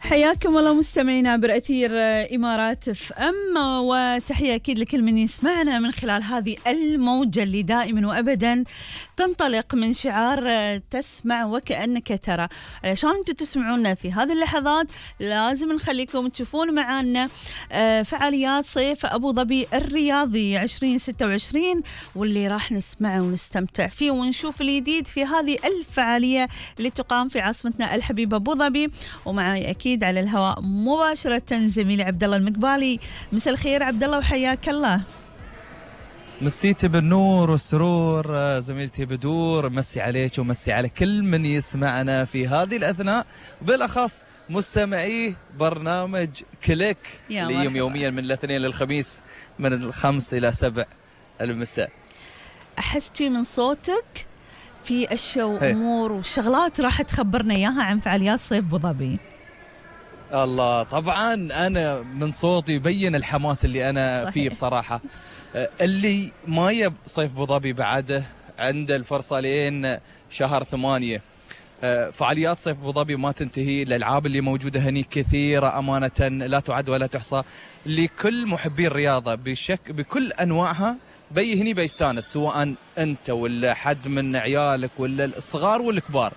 حياكم الله مستمعينا عبر أثير إمارات اف ام، وتحية أكيد لكل من يسمعنا من خلال هذه الموجة اللي دائما وأبدا تنطلق من شعار تسمع وكأنك ترى. علشان انتم تسمعونا في هذه اللحظات لازم نخليكم تشوفون معنا فعاليات صيف أبو ظبي الرياضي 2026، واللي راح نسمعه ونستمتع فيه ونشوف الجديد في هذه الفعالية اللي تقام في عاصمتنا الحبيبة أبو ظبي. ومعي أكيد على الهواء مباشرة زميلي عبد الله المقبالي. مساء الخير عبد الله وحياك الله. مسيتي بالنور والسرور زميلتي بدور، مسي عليك ومسي على كل من يسمعنا في هذه الأثناء، بالأخص مستمعي برنامج كليك اللي يوميا من الاثنين للخميس من 5 إلى 7 المساء. أحستي من صوتك في أشياء وأمور وشغلات راح تخبرنا إياها عن فعاليات صيف أبو ظبي. الله، طبعا أنا من صوتي يبين الحماس اللي أنا صحيح. فيه بصراحة. اللي ما يب صيف أبو ظبي بعده عنده الفرصة لين شهر 8. فعاليات صيف أبو ظبي ما تنتهي، الألعاب اللي موجودة هني كثيرة أمانة لا تعد ولا تحصى، لكل محبي الرياضة بكل أنواعها بي هني بيستانس، سواء أنت ولا حد من عيالك ولا الصغار والكبار.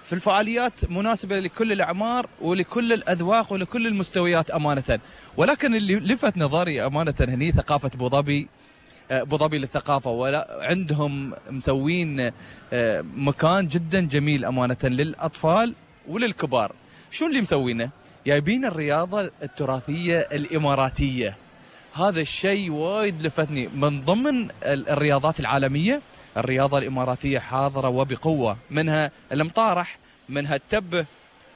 في الفعاليات مناسبة لكل الأعمار ولكل الأذواق ولكل المستويات أمانة. ولكن اللي لفت نظري أمانة هني ثقافة أبو ظبي. أبو ظبي للثقافة، ولا عندهم مسوين مكان جدا جميل أمانة للأطفال وللكبار. شو اللي مسوينه؟ جايبين الرياضة التراثية الإماراتية. هذا الشيء وايد لفتني. من ضمن الرياضات العالمية الرياضة الإماراتية حاضرة وبقوة، منها المطارح، منها التبة،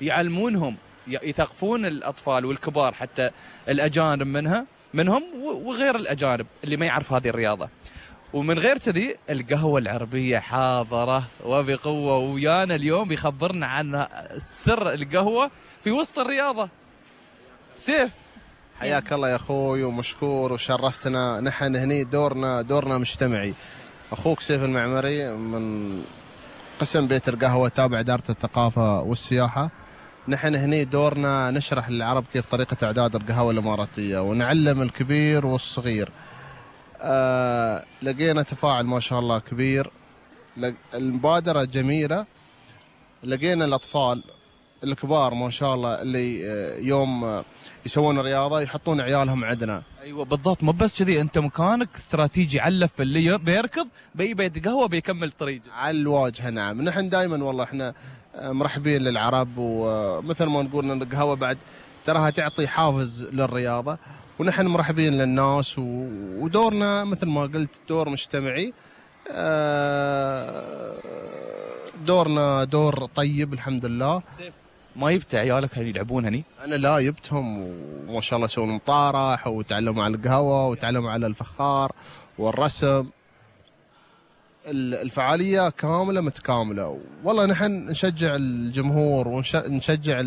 يعلمونهم يثقفون الأطفال والكبار حتى الأجانب منهم وغير الأجانب اللي ما يعرف هذه الرياضة. ومن غير كذي القهوة العربية حاضرة وبقوة، ويانا اليوم بيخبرنا عن سر القهوة في وسط الرياضة. سيف، حياك الله يا أخوي ومشكور وشرفتنا. نحن هني دورنا مجتمعي. أخوك سيف المعمري من قسم بيت القهوة تابع إدارة الثقافة والسياحة. نحن هني دورنا نشرح للعرب كيف طريقة إعداد القهوة الإماراتية ونعلم الكبير والصغير. لقينا تفاعل ما شاء الله كبير، المبادرة جميلة. لقينا الأطفال الكبار ما شاء الله اللي يوم يسوون رياضة يحطون عيالهم عندنا. ايوه بالضبط، مو بس كذي، انت مكانك استراتيجي علف اللي بيركض بيت قهوه بيكمل طريقه على الواجهه. نعم، نحن دائما والله احنا مرحبين للعرب، ومثل ما نقول ان القهوه بعد تراها تعطي حافز للرياضه، ونحن مرحبين للناس، ودورنا مثل ما قلت دور مجتمعي. دورنا دور طيب الحمد لله. ما جبت عيالك يلعبون هني؟ أنا لا، جبتهم وما شاء الله يسوون مطارح وتعلموا على القهوة وتعلموا على الفخار والرسم. الفعالية كاملة متكاملة. والله نحن نشجع الجمهور ونشجع